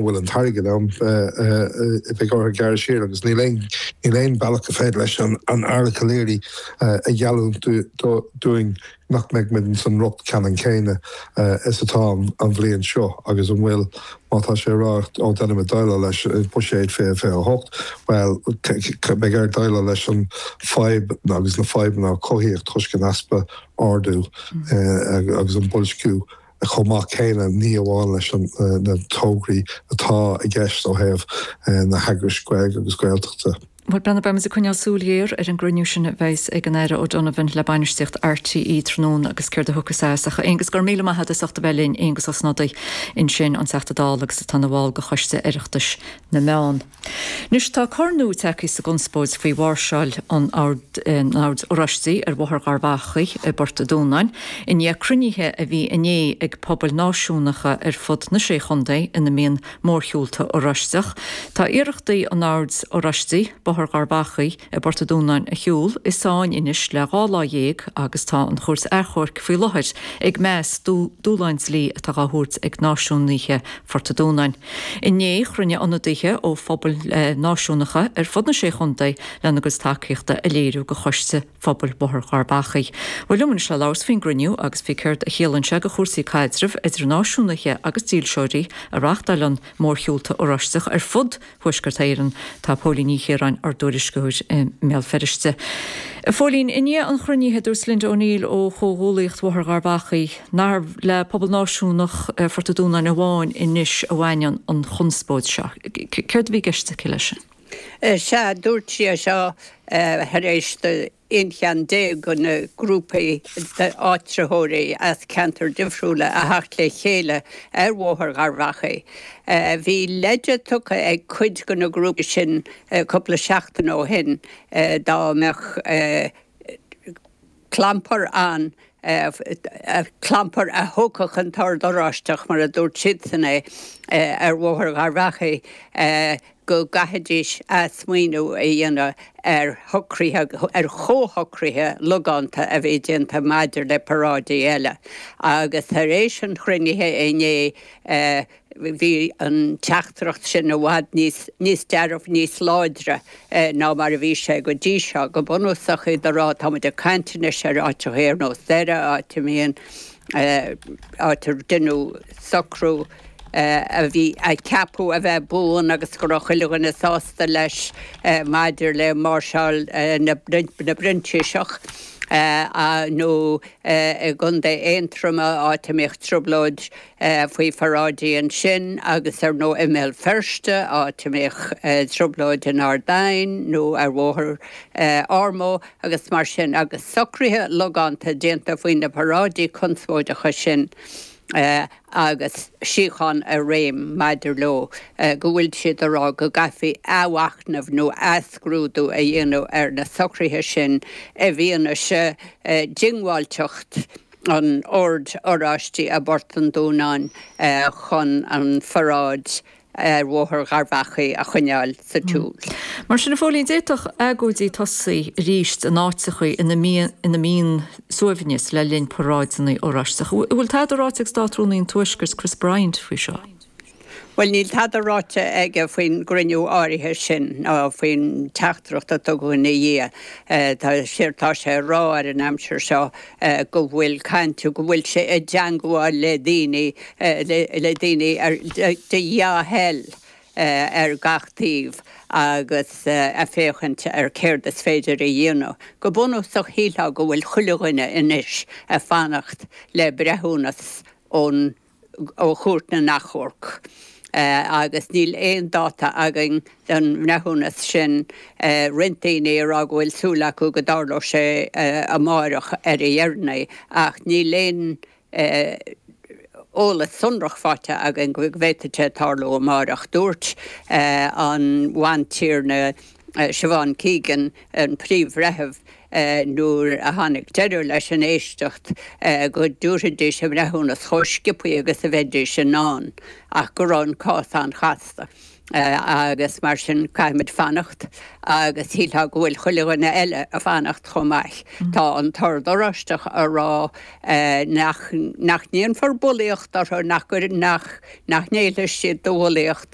bhfuil an t-airgead ann, beidh orthu gearradh siar agus níl aon, níl aon bealach go féidir leis an Aire Calleary a gheallúint dúinn nach mbeidh muid ins an riocht ceannann céanna is atá an bhliain seo agus an bhfuil, má tá sé a rá, ó déanfaimid déileáil leis i Buiséad 2028, bhuel, beidh air déileáil leis an fadhb agus na fadhbanna a cothaíodh toisc an easpa ardú agus an boilsciú. chomh maith céanna, ní amháin leis na tograí atá i gceist ó thaobh na heagrais Gaeilge agus Gaeltachta. Bhuel, Breandán, beimid ag coinneáil súil ghéar ar an gcruinniú sin a bheas ag an Aire O'Donovan le bainistíocht RTÉ tráthnóna agus céard a thiocfas as. Ach, a Aonghus, go raibh míle maith agat as ucht a bheith linn, Aengus Ó Snodaigh ansin, an Teachta Dála agus atá ina bhall de Choiste Oireachtais na Meán. Anois tá cor nua tagtha sa gconspóid faoi mháirseáil an Oird Oráistigh ar Bhóthar Gharbh Achaidh i bPort a' Dúnáin, i ndiaidh cruinnithe a bhí inné ag pobail náisiúnacha ar fud na Sé Chontae ina mbíonn mórshiúlta Oráisteach. Tá iarrachtaí an Oird Oráistigh Bóthar Gharbh Achaidh i bPort a' Dúnáin a shiúl i sáinn anois le 12 lá agus tá an Chúirt Achomhairc faoi láthair ag meas dúshláin dlí atá dhá thabhairt ag náisiúnaithe Phort a' Dúnáin. Inné, chruinnigh ionadaithe ó phobail náisiúnacha ar fud na Sé Chontae lena gcuid tacaíochta a léiriú do Choiste Phobail Bhóthar Gharbh Achaidh. Bhuel, liom anois le labhairt faoin gcruinniú agus faoi céard a chiallaíonn sé do chúrsaí caidrimh idir náisiúnaithe agus dílseoirí a reáchtáileann mórshiúlta Oráisteach ar fud Thuaisceart Éireann, tá Póilín Ní Chiaráin, ár dtuairisceoir i mBéal Feirste. A Phóilín, i ndiaidh an chruinnithe, dúirt Linda O'Neill ó Chomhghuallaíocht Bhóthar Gharbh Achaidh nár le pobal náisiúnach Phort an Dúnáin amháin anois a bhaineann an chonspóid seo. Céard a bhí i gceist aici leis sin? Sea, dúirt sí é seo tar éis do 11 cheann de na grúpaí d'áitritheoirí as ceantair difriúla a theacht le chéile ar Bhóthar Gharbh Achaidh. Bhí leide tugtha ag cuid de na grúpaí sin cúpla seachtain ó shin dá mbeadh clampar ann, clampar a thógfadh an tOrd Oráisteach, mar a dúirt siadsan é, ar Bhóthar Gharbh Achaidh. go gcaithfidís athsmaoineamh a dhéanamh ar shocruithe, ar chomhshocruithe logánta a bhí déanta maidir le paráidí eile. Agus tar éis an chruinnithe inné bhí an teachtaireacht sin i bhfad níos, níos dearfaí, níos láidre ná mar a bhí sé go dtí seo. Go bunúsach iad ag rá, tá muid ag caint anois ar áiteacha ar nós Doire, áit a mbíonn, áit ar deineadh socrú, a bhí a ceapadh a bheith buan agus go raibh chuile dhuine sásta leis maidir le máirseáil na bProinsiasach nó i gContae Aontroma áit a mbíodh trioblóid faoi pharáidí ansin agus ar ndóigh i mBéal Feirste áit a mbíodh trioblóid in Ard Aidhin nó ar Bhóthar Ormeau agus mar sin agus socruithe logánta déanta faoi na paráidí conspóideacha sin. agus síocháin i réim maidir leo, go bhfuil siad ag rá go gcaithfí athmhachnamh nó athscrúdú a dhéanamh ar na socruithe sin i bhfianaise diongbháilteacht an Oird Oráistigh i bPort an Dúnáin chun an pharáid ar Bhóthar Gharbh Achaidh a choinneáil sa tsiúl. Mar sin, a Phóilín, d'fhéadfadh agóidí tosaí arís in áiteacha ina mbíonn suaimhneas le linn paráideanna Oráisteacha. An bhfuil tada ráite ag Státrúnaí an Tuaiscirt, Chris Bryant, faoi seo? Bhuel, níl tada ráite aige faoin gcruinniú áirithe sin ná faoin teachtaireacht a tugadh ina dhiaidh. Tá tá sé ag rá ar an aimsir seo go bhfuil caint, go bhfuil sé i dteangmháil le daoine, le daoine de dhea-thoil ar gach taobh agus ag féachaint ar céard is féidir a dhéanamh. Go bunúsach shílfeá go bhfuil chuile dhuine anois ag fanacht le breithiúnas ón ó Chúirt na nAchomharc agus níl aon dáta againn don bhreithiúnas sin. Roinnt daoine ag rá go bhfuil súil acu go dtarlódh sé amáireach ar a dheireanaí ach níl aon eolas sonrach faighte againn go bhféadfadh sé tarlú amáireach. Dúirt an Bhantiarna Siobhán Keegan, an Príomh-Bhreitheamh. Nuair a tháinig deireadh leis an éisteacht go dtabharfaidís a mbreithiúnas chomh sciobthaí agus a bheidís in ann ach go raibh an cás an-chasta agus mar sin caithfimid fanacht agus shílfeá go bhfuil chuile dhuine eile ag fanacht chomh maith. Tá an tOrd Oráisteach a rá nach nach ndéanfar bulaíocht orthu, nach nach nach ngéillfidh siad do bhulaíocht.